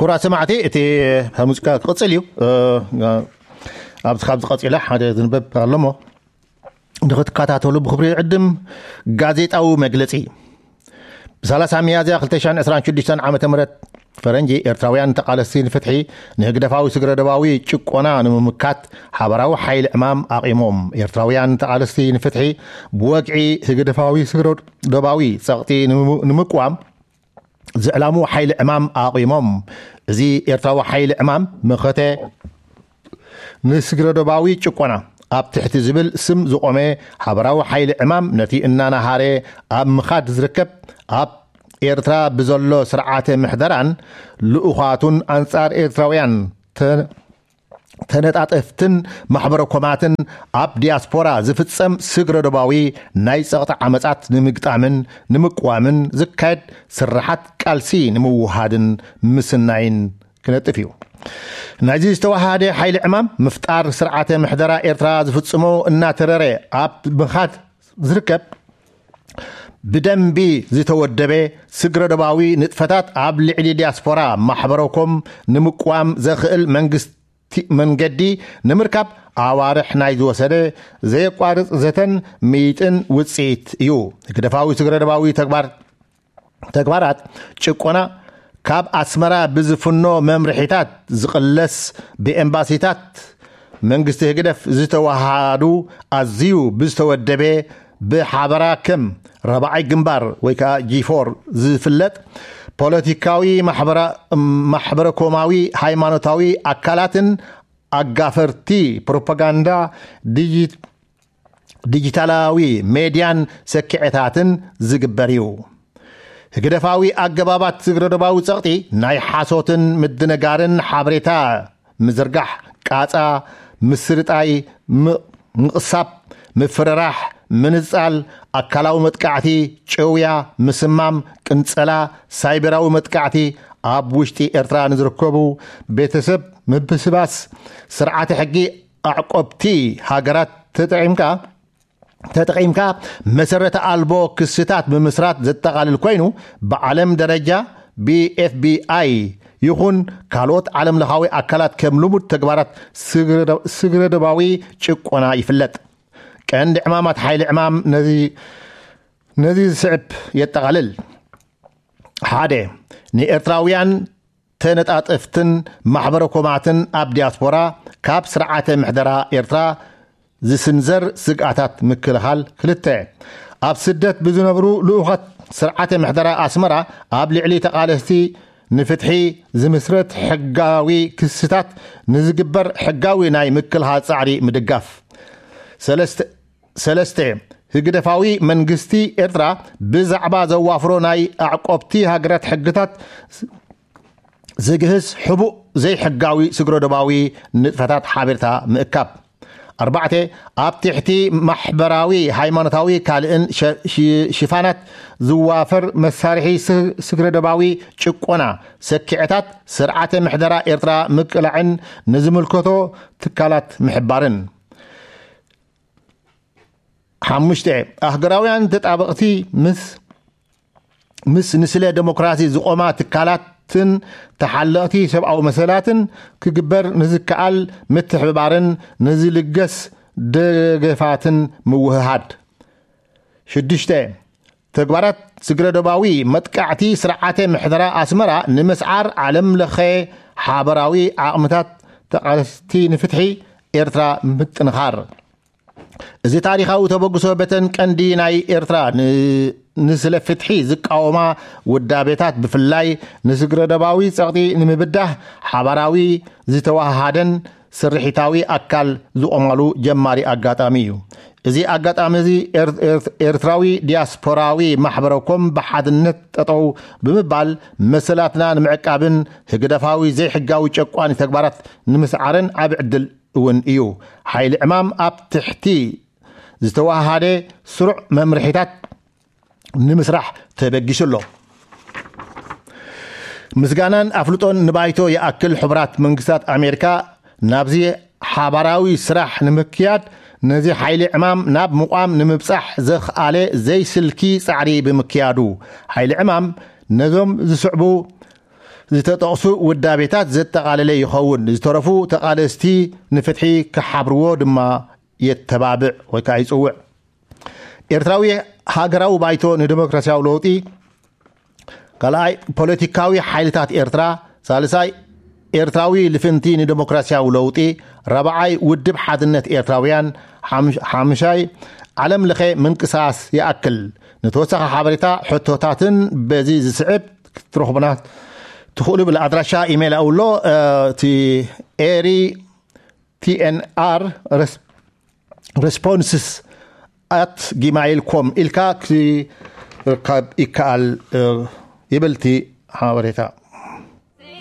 ክቡራት ሰማዕቲ፣ እቲ ሙዚቃ ክቕጽል እዩ። ኣብዚ ካብ ዝቐጺላ ሓደ ዝንበብ ኣለሞ ንክትከታተሉ ብክብሪ ዕድም። ጋዜጣዊ መግለጺ። ብ30 ሚያዝያ 2026 ዓመተ ምህረት ፈረንጂ፣ ኤርትራውያን ተቓለስቲ ንፍትሒ፣ ንህግደፋዊ ስግረደባዊ ጭቆና ንምምካት ሓበራዊ ሓይሊ ዕማም ኣቒሞም። ኤርትራውያን ተቓለስቲ ንፍትሒ፣ ብወግዒ ህግደፋዊ ስግረደባዊ ጸቕጢ ንምም-፣ ንምቅዋም ዝዕላሙ ሓይሊ ዕማም ኣቒሞም። እዚ ኤርትራዊ ሓይሊ ዕማም መኸተ ንስግረደባዊ ጭቆና ኣብ ትሕቲ ዝብል ስም ዝቖመ ሓበራዊ ሓይሊ ዕማም፣ ነቲ እናናሃረ ኣብ ምኻድ ዝርከብ፣ ኣብ ኤርትራ ብዘሎ ስርዓተ ምሕደራን ልኡኻቱን ኣንጻር ኤርትራውያን ተ-፣ ተነጣጠፍትን ማሕበረ ኮማትን ኣብ ዲያስፖራ ዝፍጸም ስግረደባዊ ናይ ጸቕጢ ዓመጻት ንምግጣምን ንምቅዋምን ዝካየድ ስርሓት ቃልሲ ንምውሃድን ምስናይን ክነጥፍ እዩ። ናይዚ ዝተዋሃደ ሓይሊ ዕማም ምፍጣር ስርዓተ ምሕደራ ኤርትራ ዝፍጽሞ እናተረረ ኣብ ምኻድ ዝርከብ፣ ብደንቢ ዝተወደበ ስግረደባዊ ንጥፈታት ኣብ ልዕሊ ዲያስፖራ ማሕበረኮም ንምቅዋም ዘኽእል መንግስቲ መንገዲ ንምርካብ ኣዋርሕ ናይ ዝወሰደ ዘየቋርጽ ዘተን ምይጥን ውጽኢት እዩ። ህግደፋዊ ስግረደባዊ ተግባር፣ ተግባራት ጭቆና ካብ ኣስመራ ብዝፍኖ መምርሒታት ዝቕለስ፣ ብኤምባሲታት መንግስቲ ህግደፍ ዝተዋሃዱ፣ ኣዝዩ ብዝተወደበ፣ ብሓበራ ከም ራብዓይ ግንባር ወይ ከዓ ጂ ፎር ዝፍለጥ፣ ፖለቲካዊ፣ ማሕበራ-፣ ማሕበረኮማዊ፣ ሃይማኖታዊ ኣካላትን ኣጋፈርቲ ፕሮፓጋንዳ ዲጂ-፣ ዲጂታላዊ ሜድያን ሰኪዐታትን ዝግበር እዩ። ህግደፋዊ ኣገባባት ስግረደባዊ ጸቕጢ ናይ ሓሶትን ምድንጋርን ሓበሬታ ምዝርጋሕ፣ ቃጻ፣ ምስርጣይ፣ ም-፣ ምቕሳብ፣ ምፍርራሕ፣ ምንጻል፣ ኣካላዊ መጥቃዕቲ፣ ጭውያ፣ ምስማም፣ ቅንጸላ፣ ሳይበራዊ መጥቃዕቲ፣ ኣብ ውሽጢ ኤርትራ ንዝርከቡ ቤተሰብ ምብስባስ፣ ስርዓተ ሕጊ ኣዕቆብቲ ሃገራት ተጠቒምካ፣ ተጠቒምካ መሰረተ ኣልቦ ክስታት ምምስራት ዘጠቓልል ኮይኑ፣ ብዓለም ደረጃ ብ ኤፍ ቢ ኣይ ይኹን ካልኦት ዓለም ለኻዊ ኣካላት ከም ልሙድ ተግባራት ስግረ-፣ ስግረደባዊ ጭቆና ይፍለጥ። ቀንዲ ዕማማት ሓይሊ ዕማም ነዚ፣ ነዚ ዝስዕብ የጠቓልል። ሓደ፣ ንኤርትራውያን ተነጣጠፍትን ማሕበረ ኮማትን ኣብ ዲያስፖራ ካብ ስርዓተ ምሕደራ ኤርትራ ዝስንዘር ስግኣታት ምክልኻል። ክልተ፣ ኣብ ስደት ብዝነብሩ ልኡኻት ስርዓተ ምሕደራ ኣስመራ ኣብ ልዕሊ ተቓለስቲ ንፍትሒ ዝምስረት ሕጋዊ ክስታት ንዝግበር ሕጋዊ ናይ ምክልኻል ጻዕሪ ምድጋፍ። ሰለስተ፣ ሰለስተ፣ ህግደፋዊ መንግስቲ ኤርትራ ብዛዕባ ዘዋፍሮ ናይ ኣዕቆብቲ ሃገራት ሕግታት ዝግህስ ሕቡእ ዘይሕጋዊ ስግረዶባዊ ንጥፈታት ሓበሬታ ምእካብ። ኣርባዕተ፣ ኣብ ትሕቲ ማሕበራዊ፣ ሃይማኖታዊ ካልእን ሸ-፣ ሽ-፣ ሽፋናት ዝዋፈር መሳርሒ ስ-፣ ስግረዶባዊ ጭቆና ሰኪዐታት ስርዓተ ምሕደራ ኤርትራ ምቅላዕን ንዝምልከቶ ትካላት ምሕባርን። ሓሙሽተ፣ ኣህገራውያን ተጣበቕቲ ምስ፣ ምስ ንስለ ደሞክራሲ ዝቖማ ትካላትን ተሓለቕቲ ሰብኣዊ መሰላትን ክግበር ንዝከኣል ምትሕብባርን ንዝልገስ ደገፋትን ምውህሃድ። ሽዱሽተ፣ ተግባራት ስግረዶባዊ መጥቃዕቲ ስርዓተ ምሕደራ ኣስመራ ንምስዓር ዓለም ለኸ ሓበራዊ ዓቕምታት ተቓለስቲ ንፍትሒ ኤርትራ ምጥንኻር። እዚ ታሪኻዊ ተበግሶ በተን ቀንዲ ናይ ኤርትራ ን-፣ ንስለ ፍትሒ ዝቃወማ ውዳቤታት ብፍላይ ንስግረዶባዊ ጸቕጢ ንምብዳህ ሓባራዊ ዝተዋሃሃደን ስርሒታዊ ኣካል ዝቖማሉ ጀማሪ ኣጋጣሚ እዩ። እዚ ኣጋጣሚ እዚ ኤር-፣ ኤር-፣ ኤርትራዊ ዲያስፖራዊ ማሕበረኮም ብሓድነት ጠጠው ብምባል መሰላትና ንምዕቃብን ህግደፋዊ ዘይሕጋዊ ጨቋኒ ተግባራት ንምስዓርን ዓቢ ዕድል እውን እዩ። ሓይሊ ዕማም ኣብ ትሕቲ ዝተዋሃደ ስሩዕ መምርሒታት ንምስራሕ ተበጊሱ ኣሎ። ምስጋናን ኣፍልጦን ንባይቶ ይኣክል። ሕቡራት መንግስታት ኣሜሪካ ናብዚ ሓባራዊ ስራሕ ንምክያድ ነዚ ሓይሊ ዕማም ናብ ምቋም ንምብጻሕ ዘኽኣለ ዘይስልኪ ጻዕሪ ብምክያዱ፣ ሓይሊ ዕማም ነዞም ዝስዕቡ ዝተጠቕሱ ውዳቤታት ዘጠቓለለ ይኸውን። ዝተረፉ ተቓለስቲ ንፍትሒ ክሓብርዎ ድማ የተባብዕ ወይ ከዓ ይፅውዕ። ኤርትራዊ ሃገራዊ ባይቶ ንዲሞክራሲያዊ ለውጢ፣ ካልኣይ ፖለቲካዊ ሓይልታት ኤርትራ፣ ሳልሳይ ኤርትራዊ ልፍንቲ ንዲሞክራሲያዊ ለውጢ፣ ራብዓይ ውድብ ሓድነት ኤርትራውያን፣ ሓምሻይ ዓለም ለኸ ምንቅስቃስ ይኣክል። ንተወሳኺ ሓበሬታ ሕቶታትን በዚ ዝስዕብ ክትረኽቡና ትኽእሉ ብል ኣድራሻ ኢሜይል ኣውሎ እቲ ኤሪ ቲኤንኣር ሬስፖንስስ ኣት ጊማይል ኮም ኢልካ ክርከብ ይከኣል ይብል እቲ ሓበሬታ።